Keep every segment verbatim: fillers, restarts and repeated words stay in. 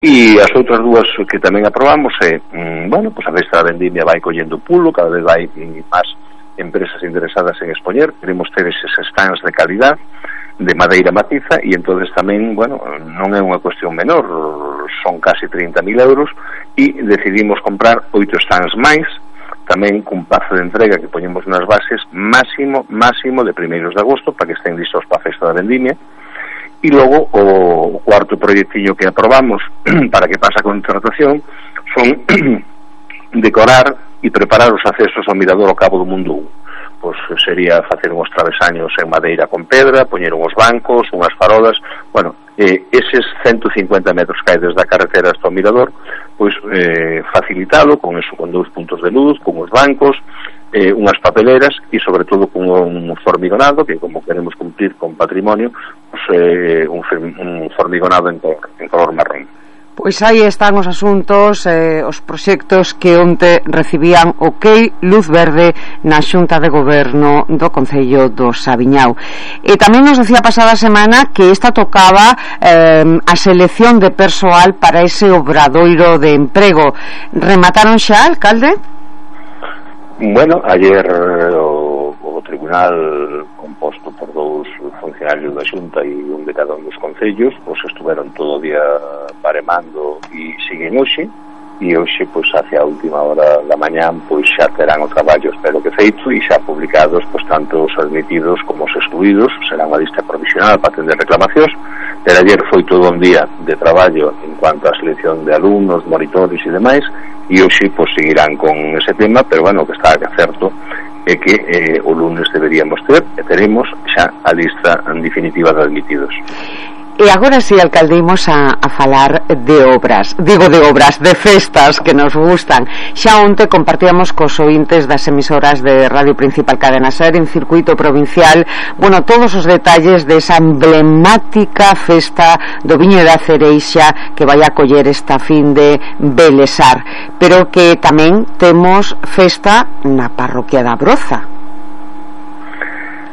E as outras dúas que tamén aprobamos é, mm, bueno, pues a Festa da Vendimia vai collendo pulo, cada vez vai máis empresas interesadas en expoñer, queremos ter eses stands de calidad, de madeira maciza, e entonces tamén, bueno, non é unha cuestión menor, son casi trinta mil euros, e decidimos comprar oito stands máis, tamén cun prazo de entrega que poñemos nas bases máximo, máximo de primeiros de agosto, para que estén listos para a Festa da Vendimia. E logo o cuarto proyectillo que aprobamos para que pase a contratación son decorar e preparar os accesos ao mirador ao Cabo do Mundo. Pois sería facer uns travesaños en madeira con pedra, poñer uns bancos, unhas farolas, bueno, eh, eses ciento cincuenta metros que hai desde a carretera hasta o mirador, pois eh, facilitalo con eso, con dous puntos de luz, con os bancos, eh, unhas papeleras e sobre todo con un formigonado que, como queremos cumplir con patrimonio, pues, eh, un, un formigonado en color, en color marrón. Pois aí están os asuntos, eh, os proxectos que onte recibían o OK luz verde na Xunta de Goberno do Concello do Saviñao. E tamén nos decía a pasada semana que esta tocaba eh, a selección de persoal para ese obradoiro de emprego. Remataron xa, alcalde? Bueno, ayer o, o tribunal, composto por dous funcionarios da Xunta e un de cada un dos concellos, pois estuveron todo o día baremando e siguen hoxe, e hoxe, pois, hacia a última hora da mañán, pois xa terán o traballo, espero que feito, e xa publicados, pois, tanto os admitidos como os excluídos, será unha lista provisional para atender reclamacións, pero ayer foi todo un día de traballo en cuanto a selección de alumnos, monitores e demais, e hoxe, pois, seguirán con ese tema, pero, bueno, que está certo é que eh, o lunes deberíamos ter, e teremos xa a lista en definitiva de admitidos. E agora si, alcalde, imos a, a falar de obras, digo de obras, de festas que nos gustan. Xa onte compartíamos cos ointes das emisoras de Radio Principal Cadena Ser en circuito provincial, bueno, todos os detalles desa emblemática festa do Viño da Cereixa que vai a coller esta fin de Belesar, pero que tamén temos festa na parroquia da Broza.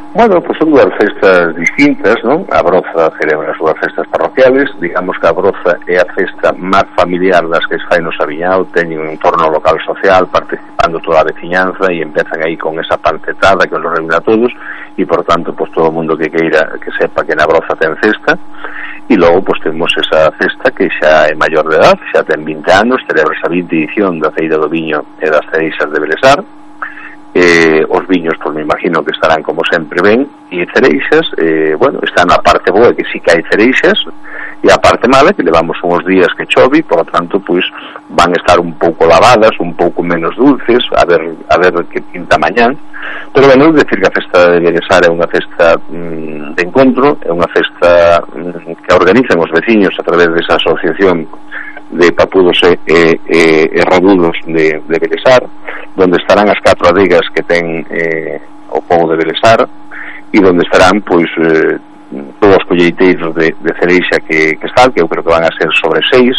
Bueno, pues son dúas festas distintas, non? A Broza celebra as súas festas parroquiales, digamos que a Broza é a festa máis familiar das que se fai no Saviñao, teñen un entorno local social, participando toda a veciñanza e empezan aí con esa pancetada que nos reúne a todos, e por tanto, pues todo o mundo que queira que sepa que na Broza ten festa, e logo, pues temos esa festa que xa é maior de edad, xa ten vinte anos, celebra esa vinte edición da Feira do Viño e das Cereixas de Belesar. Eh, os viños, pois me imagino que estarán como sempre ben, e cereixas, eh, bueno, está na parte boa que sí que hai cereixas, e a parte mala que levamos uns días que chove, por lo tanto, pois van estar un pouco lavadas, un pouco menos dulces, a ver a ver que pinta mañán, pero bueno, decir que a festa de Belesar é unha festa mm, de encontro, é unha festa mm, que organizan os veciños a través desa asociación de papudos e, e, e, e rabudos de, de Belesar, donde estarán as catro adegas que ten eh, o pobo de Belesar, e donde estarán, pois, eh, todos os colleiteiros de, de cereixa que, que están, que eu creo que van a ser sobre seis,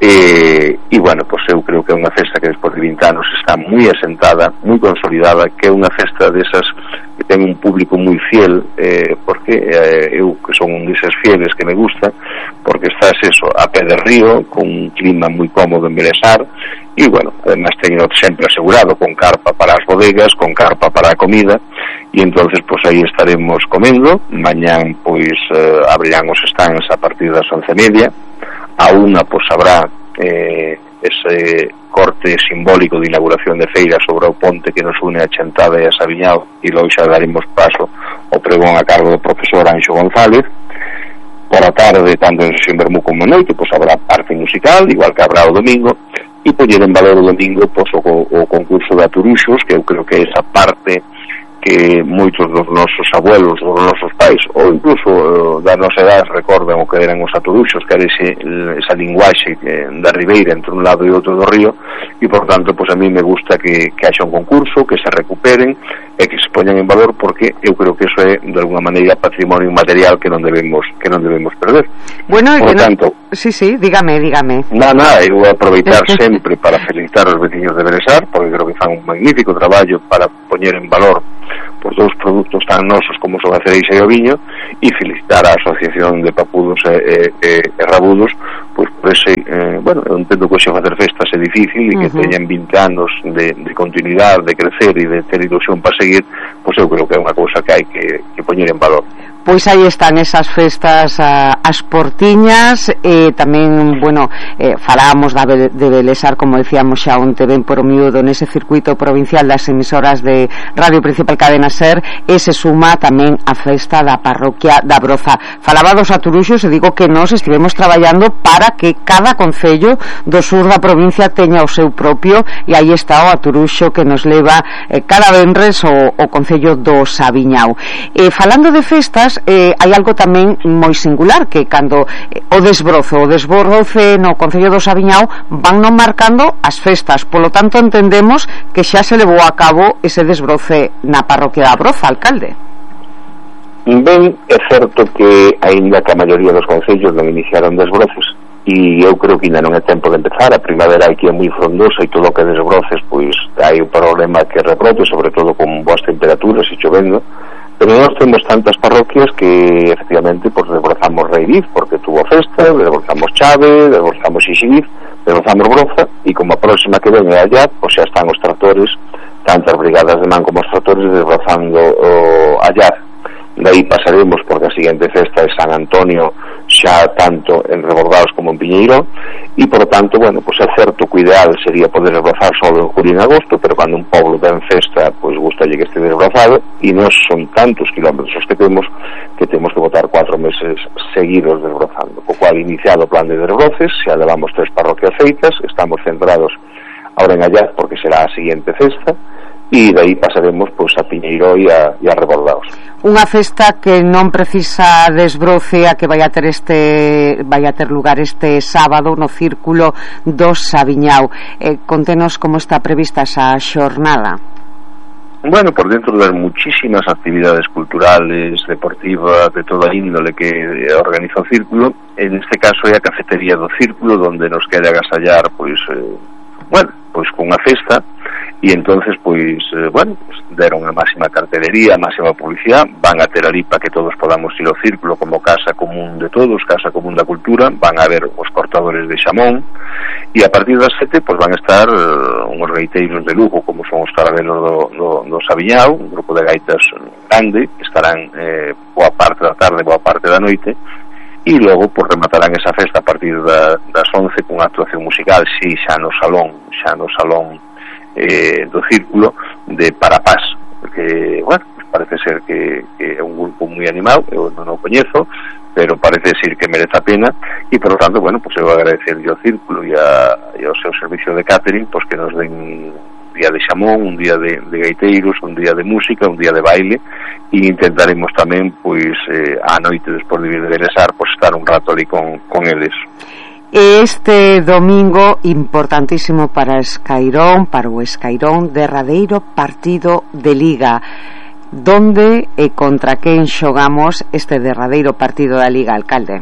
e, e bueno, pois eu creo que é unha festa que despois de vinte anos está moi asentada, moi consolidada, que é unha festa desas que ten un público moi fiel, eh, porque eh, eu que son un deses fieles que me gusta, porque estás eso, a pé de río, con un clima moi cómodo en Belesar, e bueno, además teño sempre asegurado con carpa para as bodegas, con carpa para a comida, e entonces pois aí estaremos comendo. Mañán pois eh, abrirán os stands a partir das once e media, a unha pois habrá eh, ese corte simbólico de inauguración de feira sobre o ponte que nos une a Chantada e a Saviñao, e logo xa daremos paso ao pregón a cargo do profesor Anxo González. Por a tarde, tanto en sesión vermú como en noite, pois habrá arte musical, igual que habrá o domingo, e poñer en valor o domingo pois, o, o concurso de aturuxos, que eu creo que é esa parte que moitos dos nosos abuelos, dos nosos pais, ou incluso uh, da nosa edade recordan o que eran os aturuxos, que era ese, esa linguaxe que, da ribeira entre un lado e outro do río, e por tanto, pois a mí me gusta que, que haxa un concurso, que se recuperen e que se poñan en valor, porque eu creo que eso é de alguna maneira patrimonio material que non debemos que non debemos perder. Bueno, por no... tanto, sí, sí, dígame, dígame. Nada, eu vou aproveitar sempre para felicitar aos veciños de Belesar, porque creo que fan un magnífico traballo para poñer en valor por dous produtos tan nosos como son a cereixa e o viño, e felicitar a Asociación de Papudos e, e, e, e Rabudos pois por ese, eh, bueno, eu entendo que hoxe facer festas é difícil e que uh-huh. teñan vinte anos de, de continuidade, de crecer e de ter ilusión para seguir, pois eu creo que é unha cousa que hai que, que poñer en valor. Pois aí están esas festas a, as portiñas e tamén, bueno, eh, falábamos da, de Belesar, como decíamos xa onte ben por o miúdo nese circuito provincial das emisoras de Radio Principal Cadena Ser, e se suma tamén a festa da parroquia da Broza. Falaba dos aturuxos e digo que nós estivemos traballando para que cada concello do sur da provincia teña o seu propio, e aí está o aturuxo que nos leva eh, cada venres o, o concello do Sabiñao. Eh, falando de festas, Eh, hai algo tamén moi singular, que cando eh, o desbrozo o desbroce no concello do Sabiñao van non marcando as festas, polo tanto entendemos que xa se levou a cabo ese desbroce na parroquia da Broza, alcalde. Ben, é certo que aínda que a maioría dos concellos non iniciaron desbroces, e eu creo que ainda non é tempo de empezar, a primavera aquí é moi frondosa e todo o que desbroces pois hai un problema que rebrote, sobre todo con boas temperaturas e chovendo. Pero nós temos tantas parroquias que efectivamente pues, desbrozamos Reiriz porque tuvo festa, desbrozamos Chave, desbrozamos Xixiz, desbrozamos Broza, e como a próxima que ven é allá, pues xa están os tractores, tantas brigadas de man como os tractores desbrozando o allá. De aí pasaremos porque a seguinte festa é San Antonio, xa tanto en Rebordaos como en Piñeiro, e por tanto, bueno, pues é certo que o ideal sería poder desbrozar solo en julio e en agosto, pero cando un poblo ten festa, pois pues, gustalle que este desbrozado, e nos son tantos kilómetros os que temos que temos que botar cuatro meses seguidos desbrozando, co cual iniciado o plan de desbroces, xa levamos tres parroquias feitas, estamos centrados ahora en Allá porque será a seguinte festa, e de aí pasaremos pois, a Piñeiro e a, e a Rebordaos. Unha festa que non precisa desbroce, a que vai a ter este vai a ter lugar este sábado no Círculo do Sabiñao. Eh, contenos como está prevista esa xornada. Bueno, por dentro das muchísimas actividades culturales, deportivas, de toda índole que organiza o Círculo, en este caso é a cafetería do Círculo, donde nos quere agasallar, pois, eh, bueno, pois con unha festa, e entonces pois, eh, bueno, pues, deron a máxima cartelería, a máxima publicidade, van a ter ali para que todos podamos ir ao Círculo como casa común de todos, casa común da cultura, van a ver os cortadores de xamón, e a partir das sete pois van a estar uh, uns gaiteiros de lujo como son os Carabelos do, do, do Sabiñao, un grupo de gaitas grande que estarán eh, boa parte da tarde, boa parte da noite, e logo pues, rematarán esa festa a partir da, das once con actuación musical, si xa no salón, xa no salón eh, do Círculo de Parapás, porque, bueno, pues parece ser que, que é un grupo moi animado, eu non o coñezo, pero parece ser que merece a pena, e por lo tanto, bueno, pues eu agradecer ao Círculo e, a, e ao seu servicio de catering, pues que nos den un día de xamón, un día de, de gaiteiros, un día de música, un día de baile, e intentaremos tamén, pois, eh, a noite despois de vir de Belesar, pois estar un rato ali con, con eles. Este domingo importantísimo para Escairón, para o Escairón, derradeiro partido de Liga. Donde e contra quen xogamos este derradeiro partido da Liga, alcalde?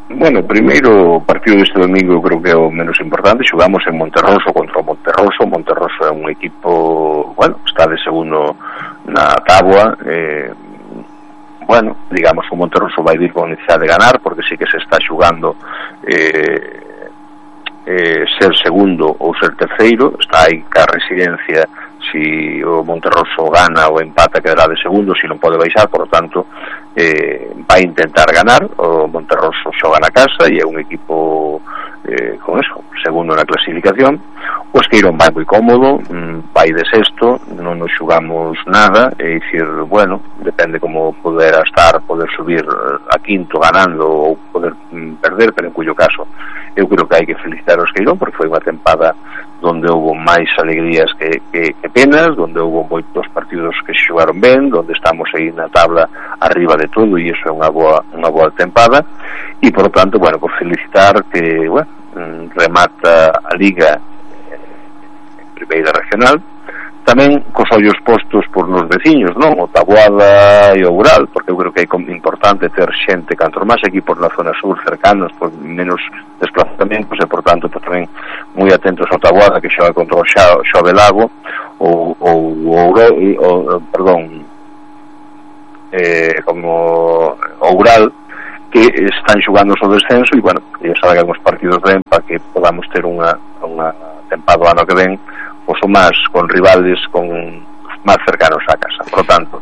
Bueno, o primeiro partido deste domingo eu creo que é o menos importante. Xogamos en Monterroso contra o Monterroso. Monterroso é un equipo, bueno, está de segundo na táboa, eh, bueno, digamos que o Monterroso vai vir con necesidade de ganar, porque sí que se está xugando eh, eh, ser segundo ou ser terceiro, está aí ca residencia. Si o Monterroso gana ou empata quedará de segundo, si non pode baixar, por lo tanto eh, vai intentar ganar. O Monterroso xoga na casa e é un equipo eh, con eso, segundo na clasificación. O Esqueirón vai moi cómodo, vai de sexto, non nos xugamos nada, é dicir, bueno, depende como poder estar, poder subir a quinto ganando ou poder perder, pero en cuyo caso eu creo que hai que felicitar o Esqueirón porque foi unha tempada donde houve máis alegrías que, que, que penas, donde houve moitos partidos que xogaron ben, donde estamos aí na tabla arriba de todo, e iso é unha boa, unha boa tempada, e por tanto, bueno, por felicitar que, bueno, remata a Liga en primeira regional, tamén cos ollos postos por nos veciños, non? O Taboada e o Ural, porque eu creo que é importante ter xente canto máis equipos na zona sur cercanos, por menos desplazamentos, e por tanto pues, tamén moi atentos ao Taboada que xoga contra o Xove Lago ou o Ural, perdón, eh, como o Ural, que están xogando o descenso e, bueno, ya salgan os partidos ben para que podamos ter unha, unha tempada ano que ven pois o máis con rivales con máis cercanos á casa. Por lo tanto,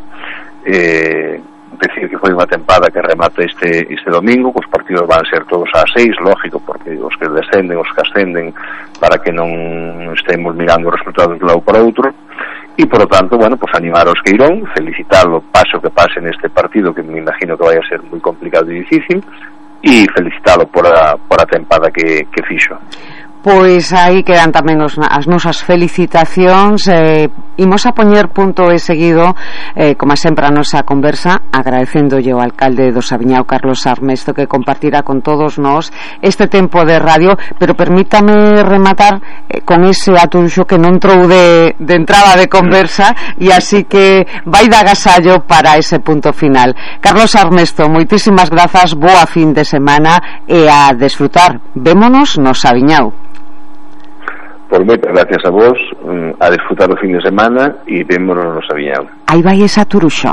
eh, decir que foi unha tempada que remata este, este domingo, os partidos van ser todos ás seis, lógico, porque os que descenden, os que ascenden, para que non estemos mirando os resultados de un lado para outro. E, por lo tanto, bueno, pues animar aos Queirón, felicitarlo, paso que pase neste partido, que me imagino que vai a ser moi complicado e difícil, e felicitarlo por a, por a tempada que, que fixo. Pois aí quedan tamén os, as nosas felicitacións. eh, Imos a poñer punto e seguido, eh, como sempre a nosa conversa, agradecéndolle ao alcalde do Saviñao, Carlos Armesto, que compartirá con todos nós este tempo de radio, pero permítame rematar eh, con ese atuxo que non trou de, de entrada de conversa, e así que vai de agasallo para ese punto final. Carlos Armesto, moitísimas grazas, boa fin de semana e a desfrutar. Vémonos no Saviñao. Por moitas gracias a vos, a disfrutar o fin de semana e vémonos no Saviñao. Aí vai esa turuxo.